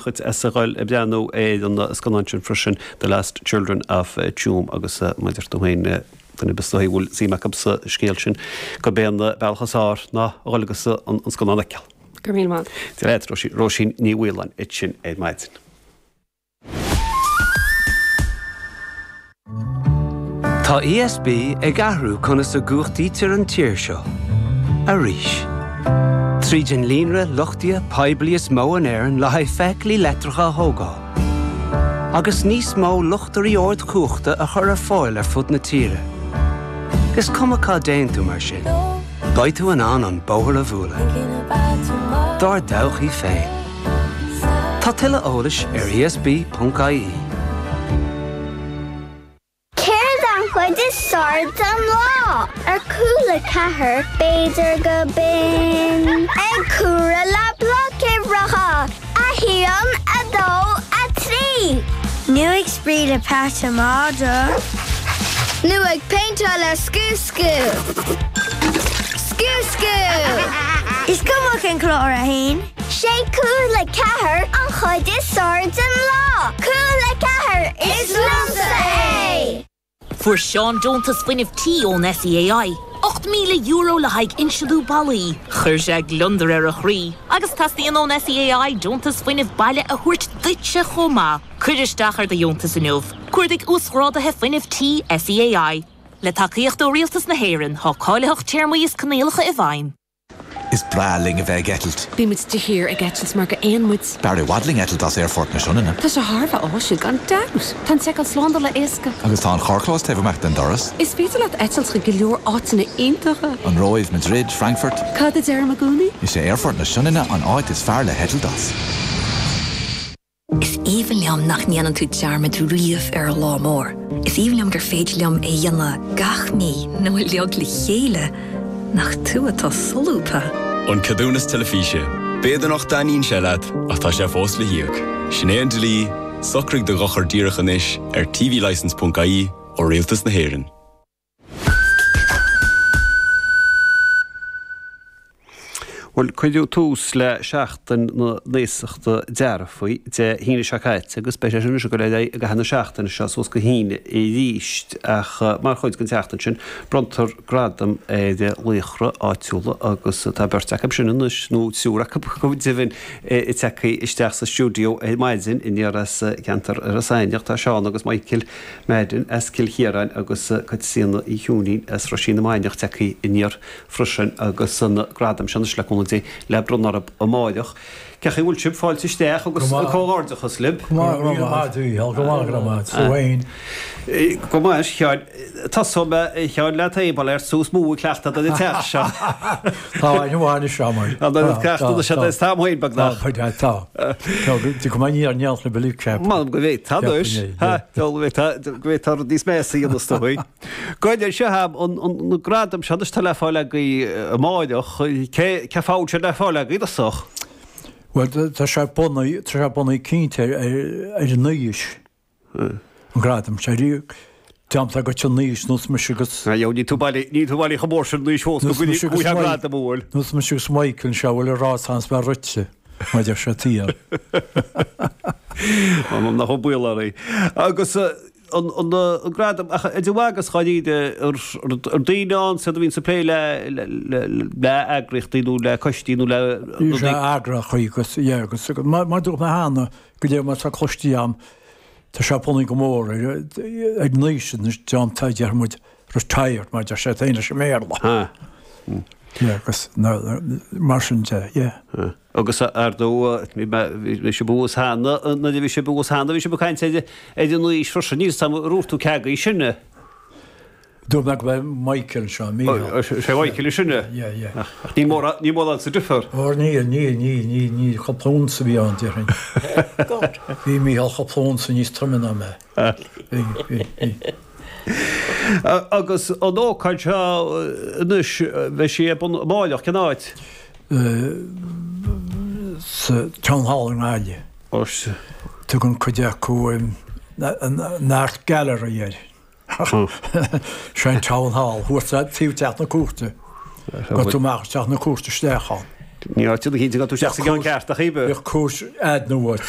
Dhuit as a ghoil ag breathnú ar an scannán sin freisin, The Last Children of Tuam agus mar a deir tú féin, duine ar bith is dóigh a bhfuil suim acu sa scéal sin, gurb é an bealach is fearr ná a dhul agus an scannán a fheiceáil. Go raibh míle maith. Dia leat, Róisín Ní Mhaoláin ansin ar maidin. Tá ESB ag athrú conas a gcumhachtaítear an tír seo. Arís. Tríd an líonra luchtaithe poiblí is mó in Éirinn le haghaidh feithiclí leictreacha a thógáil. Agus níos mó luchtairí ardchumhachta a chur ar fáil ar fud na tíre. Is cuma cá dtéann tú mar sin, beidh tú in ann an bóthar a bhualadh. Dár dtodhchaí féin. Tá tuilleadh eolais ar esb.ie. Céard an chuid is fearr den lá? Ar Cúla 4, b'fhéidir go binn ag comhaireamh le blocuimhreacha, 1, 2, 3. Nó ag spraoi le peata madra. Nó ag péinteáil le Scú Scú. Scú Scú! Is cuma cén clár a théann. 'Sé Cúla 4 an chuid is fearr den lá! Cúla 4, is liomsa é! Fuair Seán deontas fuinnimh tí ón SEAI, €8,000 le haghaidh insealú ballaí. Chuir sé gliondar ar a chroí. Agus teastaíonn ón SEAI deontas fuinnimh baile a thabhairt duitse chomh maith. Cuir isteach ar do dheontas inniu. Cuardaigh Uasghráduithe Fuinnimh Tí SEAI. Le tacaíocht ó Rialtas na hÉireann, tá cáilitheacht, téarmaí is coinníollacha i bhfeidhm. Is breá linn a bheith ag eitilt. Bímid de shíor ag eitilt mar gur éin muid. B'fhearr i bhfad linn eitilt as Aerfort na Sionainne. Tá sé thar a bheith áisiúil, gan dabht! Tá an tseiceáil slándála éasca. Agus tá an carrchlós taobh amuigh den doras. Is féidir leat eitilt chuig go leor áiteanna iontacha. An Róimh, Madrid, Frankfurt. Cad a deirim i gcónaí? Is é Aerfort na Sionainne an áit is fearr le heitilt as. Is aoibhinn liom nach ndéanann tú dearmad riamh ar an lá mór. Is aoibhinn liom gur féidir liom é a dhéanamh gach mí nó uilig le chéile. Nach tú atá solúbtha! An Ceadúnas Teilifíse. B'fhéidir nach dtaitníonn sé leat, ach tá sé fós le híoc. Sin é an dlí, socraigh do dhochar díreach anois ar tvlicence.ie ó Rialtas na hÉireann. Bhuel, cuireadh tús le Seachtain na nAosachta Dearfaí Dé hAoine seo caite agus beidh sé sin anois ag dul ar aghaidh i gcaitheamh na seachtaine seo suas go hAoine arís. Ach mar chuid den tseachtain sin, bronntar gradam ar laochra áitiúla agus tá beirt acu sin anois, nó triúr acu go deimhin, tagtha isteach sa stiúideo ar maidin aniar as ceantar Iorras Aithneach. Tá Seán agus Michael Madden as Cill Chiaráin agus Caitríona Uí Chiúinín as Roisín na Mainiach tagtha aniar freisin agus an gradam seo anois le cúnamh Dé le bronnadh orthu amáireach. Cén chaoi a bhfuil sibh? Fáilte isteach agus comhghairdeachas libh. Go maith, go maith, a Mhícheál, go maith, go maith. Tú féin? Go maith, a Sheáin. Tosóidh mé, a Sheáin, leat féin, bail ort is mó ag cleachtadh don teach seo. Tá aithne mhaith anois agam air. Tá an cleachtadh anois agat is táim féin beagnach. Tá, tá. Tá, go maith ní ar neart na billí ceap. M'anam go bhféadfá anois. Go bhféadfá rud níos measa a dhéanamh is dóigh. Go seo an gradam seo anois tá le fáil agaibh amáireach. Cé cén fáth a bhfuil sé le fáil agaibh i dtosach? Bhuel tá sé bunaithe, tá sé bunaithe cinnte ar an aois. An gradam seo riamh. Déanta agat an aois nós mise agus. Níl tú bailí, níl tú bailí chomh mór sin anois fós go bhfuil an gradam a bhfuil. Nós mise agus Michael anseo a bhfuil a rá sans bheith rite, mar deir sé tiar. M'anam nach bhfuil baol oraibh. Agus an gradam, ach idir mhaith agus dháiríre, ar daoine ann siad a bhíonns ag plé le le eagraíochtaí nó le coistí nó le. Bhí sé eagraíochtaí agus, yeah, agus mar a dúirt mé cheana, go léir mar tá cloiste agam, Tá sé bunaithe go mór ar an aois anois, déanta, déarfaidh muid, retired, mar deir siad féin leis an mBéarla. Yeah, agus mar sin de, yeah. Agus ar ndóigh, bhí sibh thuas cheana, nuair a bhí sibh thuas cheana, bhí sibh ag caint ar an aois freisin, níl 'fhios a'm ar dhúirt tú cé agaibh is sine. Dúirt mé go mbeidh Michael anseo, Mícheál. Sé Michael is sine? Yeah, yeah. Ach níl mórán, níl mórán sa difear. Óir níl, níl, níl, níl, níl, cúpla unsa a bhí ann, déarfainn. Bhí Mícheál cúpla unsa níos troime ná mé. Bhí, bhí, bhí. Agus an ócáid seo anois, beidh sí ar bun amáireach, cén áit? Sa Town Hall i nGaillimh. Tugann cuid acu an Art Gallery air. Sé an Town Hall, thuas taobh Teach na Cúirte. Gabh tú amach Teach na Cúirte isteach ann. Ní áit a chinnte go tú isteach sa gceann ceart ach ibe. Bheadh cúis eadna uait.